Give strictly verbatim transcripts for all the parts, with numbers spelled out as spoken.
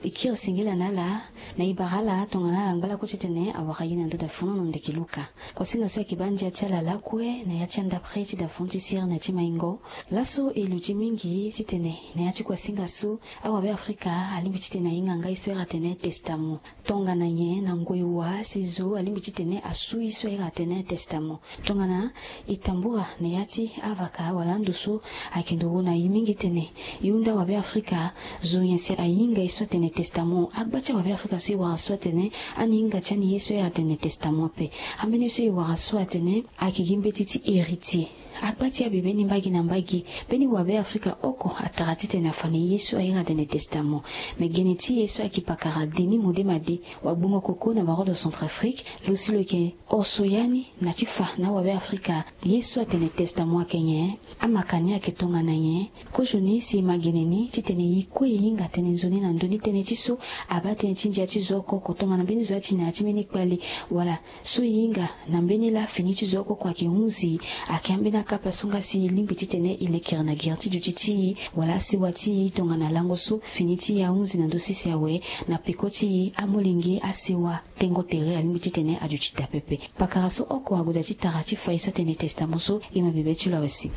Kiri singila na ala na ibara ala tongana ala ngba lakue titene awara ye na ndo dafunu na ndeke luka. Kuasinga so ayeke baa ndia ti ala lakue na ya ti andapre ti dafunu ti sirene ti maingo. Laso e luti mingi titene na ya ti kuasinga so awabe afrika alingbi titene ahinga ngai so era atene testamo. Tongana nyen na ngoi wa si zo alingbi titene asu ye so era atene testamo? Tongana e tambura na ya ti avaka wala ando so ayeke ndo wu na e mingi tene e hunda wabe afrika zo nyen si ahinga ye so atene testamo. Agba ti awabe afrika so e wara so atene ani hinga ti ani ye so era atene testamo ape. Ambeni so e wara so atene ayeke gi mbeti ti héritier. Agba ti abebe ni mbagi na mbagi. Mbeni wabe afrika oko atara titene afa na e ye so aira atene testamo. Me gene ti e so ayeke pakara denis modema de wagbongo koko na barodo centrafrique lo si lo yeke oso ya ni na ti fa na awabe afrika ye so atene testamo ayeke nyen? Amaka ni ayeke tongana nyen? Kozoni si e ma gene ni titene e kue e hinga tënë nzoni na ndö ni tënë ti so abaa tënë ti ndia ti zo oko oko tongana mbeni zo ya ti na ya ti mbeni kpale wala so e hinga na mbeni laa fini ti zo oko oko ayeke hunzi. Ayeke ambeni akapa so nga si e lingbi titene e lekere na gere ti duti ti e wala asewa ti e tongana lango so fini ti e ahunzi na ndö sese awe. Na peko ti e amolenge asewa tengo tere alingbi titene aduti daa pepe. Pakara so oko ague daa ti tara ti fa ye so atene testamo so e ma bebe ti lo awe si.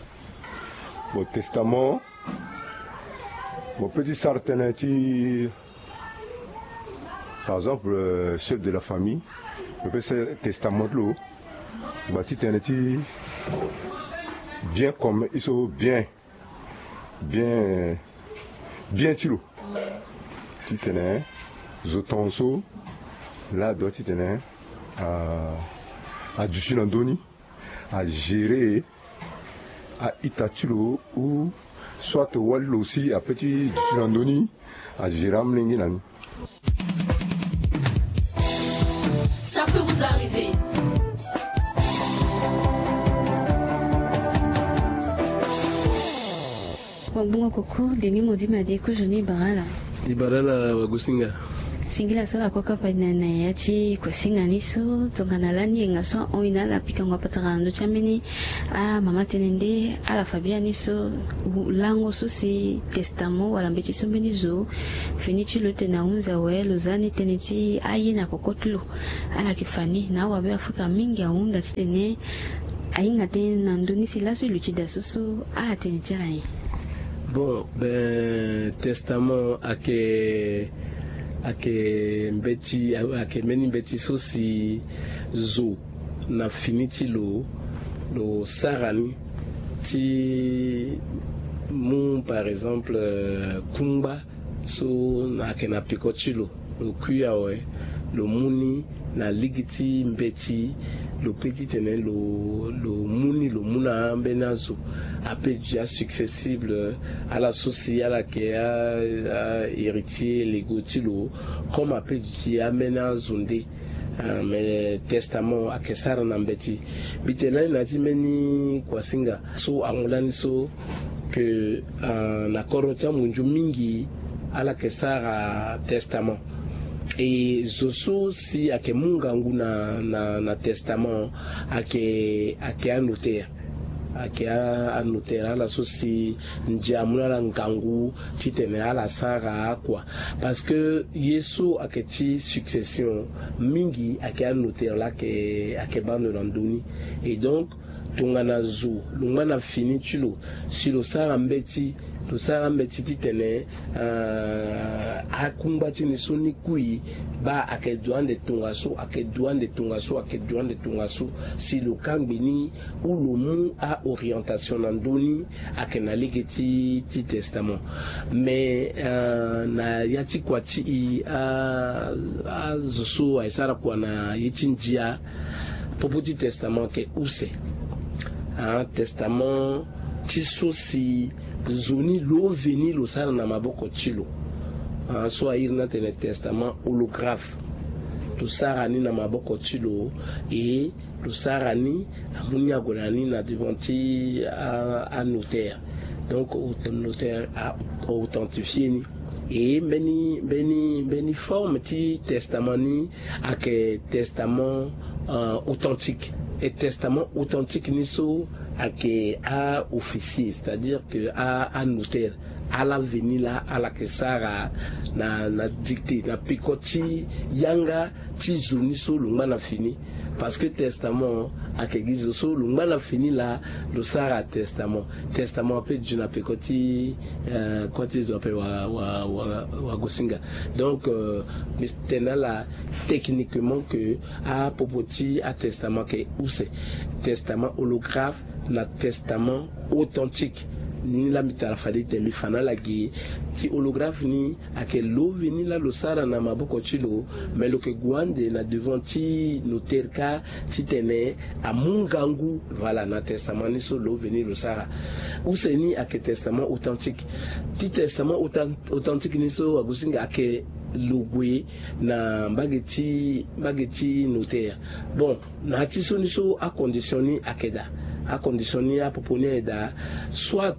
Bon, testament, mo pe ti sara tënë ti, par exemple, euh, chef de la famille, mo pe sara testament ti lo. Gba ti tënë ti bien comme ye so bien, bien, bien ti lo. Titene zo tongaso laa adoit titene a, aduti na ndö ni, agérer a-ita ti lo ou soit wali lo si ape ti duti na ndö ni, agérer amolenge na ni. Ça peut vous arriver. Wagbongo koko denis modima de kozoni e bara ala. E bara ala wagosinga. Singila so ala kue kapa na na ya ti kuasinga ni so tongana lani yenga so ahon e na ala pikango apatara na ndö ti ambeni amama tënë nde ala fa biani so lango so si testament wala mbeti so mbeni zo fini ti lo tene ahunzi awe lo za ni tënë ti aye na koko ti lo. Ala yeke fa ni na awabe afrika mingi ahunda titene ahinga tënë na ndö ni si laso e luti daa so so atene ti ala nyen? Bon, ben, testament ayeke, ayeke mbeti, ayeke mbeni mbeti so si zo na fini ti lo lo sara ni ti mu par exemple, euh, kungba so ayeke na peko ti lo, lo kui awe, lo mu ni na ligi ti mbeti, lo pe titene lo, lo mu ni lo mu na ambeni azo ape duti asuccessible ala so si ala yeke a, a héritier légaux ti lo, comme ape duti ambeni azo nde. Ah, mais testament ayeke sara na mbeti. Mbi tene lani na ya ti mbeni kuasinga so amu lani so ke, ah, na kodro ti amunzu mingi ala yeke sara testament. E zo so si ayeke mu ngangu na, na, na testament ayeke, ayeke anotaire. Ayeke a, anotaire ala so si ndia amu na ala ngangu titene ala sara akua. Parce que ye so ayeke ti succession mingi ayeke anotaire laa ayeke, ayeke baa ndo na ndö ni. Et donc tongana zo lo ngba na fini ti lo si lo sara mbeti, lo sara mbeti titene, ah, akungba ti ni so ni kui baa ayeke du ande tongaso, ayeke du ande tongaso, ayeke du ande tongaso, si lo kangbi ni ou lo mu a-orientation na ndö ni, ayeke na lege ti, ti testament. Mais, euh, na ya ti kua ti e, a, azo so ayeke sara kua na ye ti ndia, popo ti testament ayeke use. Ah, testament ti so si zo ni lo veni lo sara na maboko ti lo. Ah, so airi ni atene testament holographe. Lo sara ni na maboko ti lo, e lo sara ni, amu ni ague na ni na devant ti a, anotaire. Donc notaire a, authentifier ni. E mbeni, mbeni, mbeni forme ti testament ni ayeke testament, euh, authentique. E testament authentique ni so ayeke a-officier, c'est-à-dire que a, anotaire ala veni laa ala yeke sara na na dictée na peko ti yanga ti zo ni so lo ngba na fini. Parce que testament ayeke gi zo so lo ngba na fini laa lo sara testament. Testament ape gi na peko ti kua ti zo ape wa wa wa wa gosinga. Donc mbi tene na ala techniquement que apopo ti atestament ayeke use. Testament holographe na testament authentique. Ni laa mbi tara fade ete mbi fa na ala gi ti holographe ni ayeke lo veni laa lo sara na maboko ti lo. Mais lo yeke gue ande na devant ti notaire kâ titene amu ngangu. Voilà na testament ni so lo veni lo sara. Use ni ayeke testament authentique. Ti testament authentique ni so agosinga ayeke lo gue na mbage ti mbage ti notaire. Bon, na ya ti so ni so acondition ni ayeke daa. Acondition ni apopo ni ayeke daa. Soit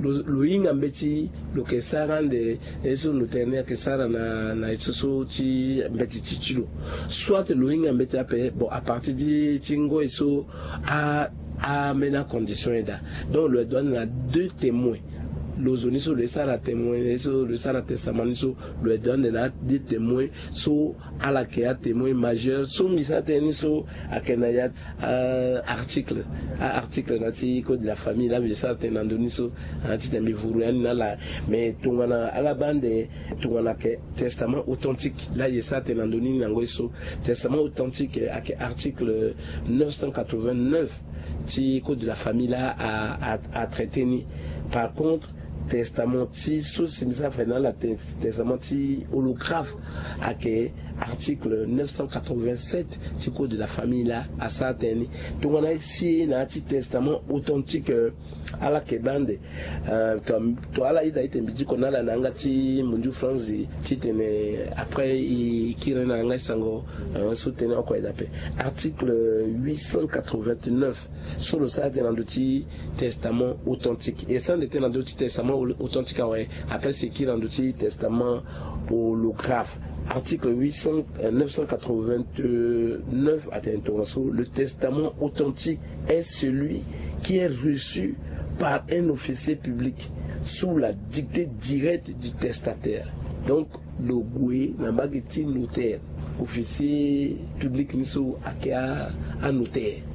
lo lo hinga mbeti lo yeke sara ande ye so notaire ni ayeke sara na na ye so so ti mbeti ti ti lo. Soit lo hinga mbeti ape bon à partir ti ti ngoi so a ambeni acondition ye daa. Donc lo yeke dua ande na deux témoins. Lo zo ni so lo ye sara témoin ye so lo ye sara testament ni so lo yeke dua ande na deux témoins so ala yeke atémoin majeur so mbi sara tënë ni so ayeke na ya article. Aarticle na ti code de la famille laa mbi sara tënë na ndö ni so. Titene mbi vuru ya ni na ala. Mais tongana ala baa ande tongana ayeke testament authentique laa ye sara tënë na ndö ni na ngoi so. Testament authentique ayeke article neuf cent quatre-vingt-neuf ti code de la famille laa atraité ni. Par contre testament ti so si mbi sara fa na ala testament ti holographe ayeke article neuf cent quatre-vingt-sept ti code de la famille laa asara tënë ni. Tongana e si e na ya ti testament authentique ala yeke baa ande to ala ida ite mbi diko na ala na yanga ti munju franzi titene après e kiri na yanga ti sango so tënë oko aye daa ape. Article huit cent quatre-vingt-neuf so lo sara tënë na ndö ti testament authentique e sara ande tënë na ndö ti testament authentique awe. Après si e kiri na ndö ti testament holographe. Article huit cent neuf cent quatre-vingt-neuf atene tongaso le testament authentique est celui qui est reçu par un officier public sous la dictée directe du testataire. Donc lo gue na mbage ti notaire. Officier public ni so ayeke anotaire.